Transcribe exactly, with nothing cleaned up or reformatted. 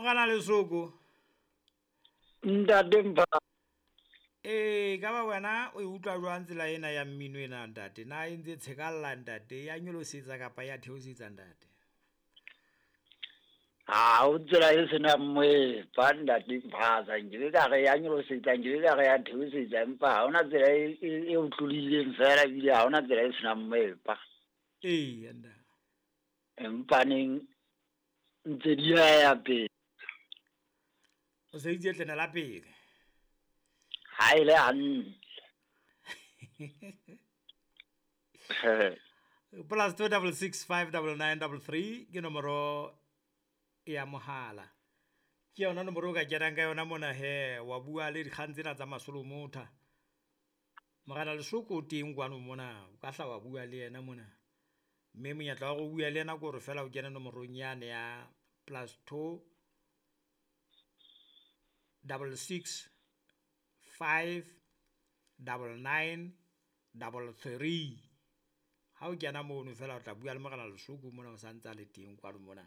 Morena Lesoko. Ntate Mpha. Ee, ka ba wena o e utlwa jwang tsela ena ya mmino ena ntate? Na e ntse tshekalla ntate, ya nyolosetsa kapa ya theosetsa ntate? Ha o tsela e senang moepa ntate Mphaza, nkebe ka re ya nyolosetsa, nkebe ka re ya theosetsa, empa ha hona tsela e, e, e otlolohileng fela, ebile ha hona tsela e senang moepa. Ee, ntate. Empaneng ntse di ya ya pele. O se itse tlena la pele. Ha e le hantle. Plus two double six five double nine double three ke nomoro ya mohala. Ke yona nomoro o ka kenang ka yona mona he, wa bua le dikgang tsena tsa Masolomotha. Morena Lesoko o teng kwano mona, o ka hla wa bua le yena mona. Mme monyetla wa hore o bue le yena ke hore feela o kene nomorong yane ya plus two double six five double nine double three. Ha o kena mono feela o tla bua le Morena Lesoko mona o santsa le teng kwano mona.